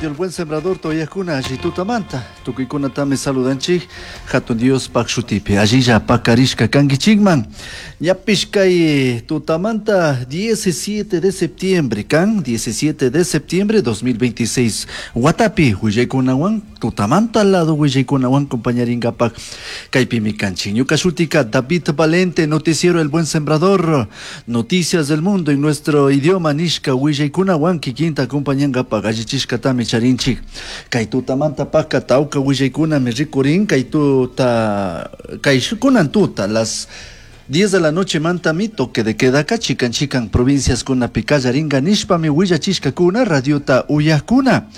Radio El Buen Sembrador uyajkuna, alli tutamanta. Tukuykunatami saludanchik Hatun Diospaj shutipi. Allilla pakarishka kankichikman. Ñapish kay tutamanta 17 de septiembre kan, 17 de septiembre 2026 watapi willaykunawan tutamanta lado willaykunawan compañaringapak kaypimi kanchik. Ñuka shutika David Valente, noticiero El Buen Sembrador, noticias del mundo en nuestro idioma nishka willaykunawan kikinta acompañangapak allichishkatami charinchik. Kay tutamanta paka tawka willaykunami rikurin kay tuta kay kunan tuta las 10 de la noche mantami toque de queda ka chikan chikan provincias kunapi kallaringa nishpami willachishkakuna radiota uyajkuna.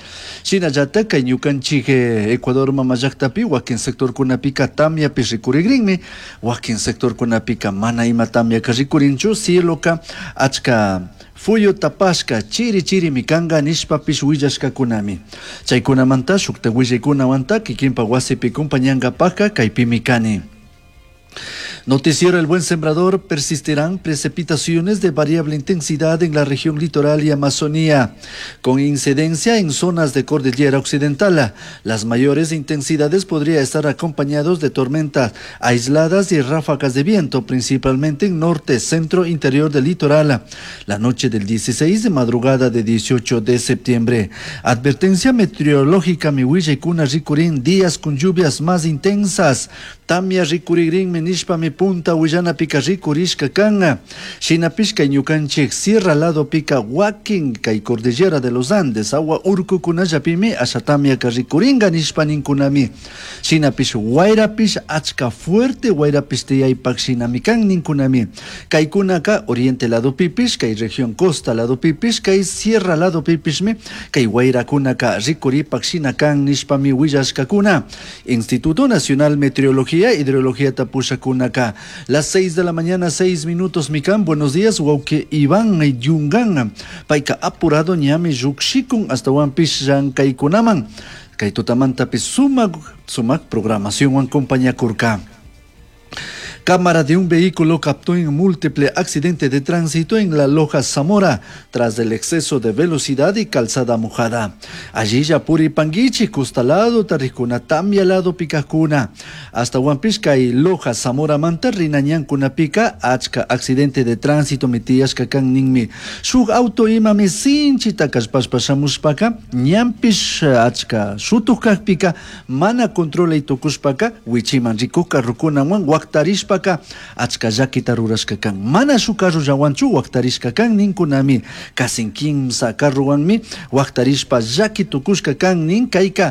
Shinallata kay ñukanchik Ecuador mama llaktapi wakin sectorkunapika tamyapi rikurigrinmi, wakin sectorkunapika mana ima tamyaka rikurinchu, cieloka achka fuyu tapashka chiri chirimi kanka nishpapish willashkakunami. Chaykunamanta shukta willaykunawanta kikinpa wasipi compañankapaka kaypimi kani. Noticiero El Buen Sembrador: persistirán precipitaciones de variable intensidad en la región litoral y Amazonía, con incidencia en zonas de cordillera occidental. Las mayores intensidades podrían estar acompañados de tormentas aisladas y ráfagas de viento, principalmente en norte, centro, interior del litoral. La noche del 16 de madrugada de 18 de septiembre. Advertencia meteorológica mi willaykuna rikurin días con lluvias más intensas. Tamia rikurigrinmi nishpami punta willanapika rikurishka kan. Shinapish kay ñukanchik sierra ladopika wakin kay cordillera de los Andes awa urkukunallapimi asha tamyaka rikuringa nishpa ninkunami. Shinapish wayrapish achka fuerte wayrapish tiyaypak shinami kan ninkunami. Kaykunaka oriente ladopipish, kay región costa ladopipish, kay sierra ladopipishmi kay wayrakunaka rikuripak shina kan nishpami willashkakuna. Instituto Nacional Meteorología Hidrología pushakunaka. Las 6 de la mañana, 6 minutos, mikan. Buenos días, wawki Iván Yungan. Payka apurado ñami llukshikun ashtawanpish llankaykunaman. Kay tutamantapish sumak, sumak programación compañakurka. Cámara de un vehículo captó en múltiple accidente de tránsito en la Loja Zamora tras el exceso de velocidad y calzada mojada. Allilla puripanguichik costa lado tarikuna tamia lado pikakuna. Ashtawanpish kay Loja Zamora manta rina ñankunapika achka accidente de tránsito mi tiyashka kan ninmi. Shuk auto imami sinchita kallpashpa shamushpaka ñanpish achka shutuk kakpika mana controlay tukushpaka wichiman rikuk carrokunawan waktarishpa achka llakita rurashka kan. Mana shuk carrollawanchu waktarishka kan ninkunami. Kasin kimsa carrowanmi waktarishpa llaki tukushka kan nin kayka.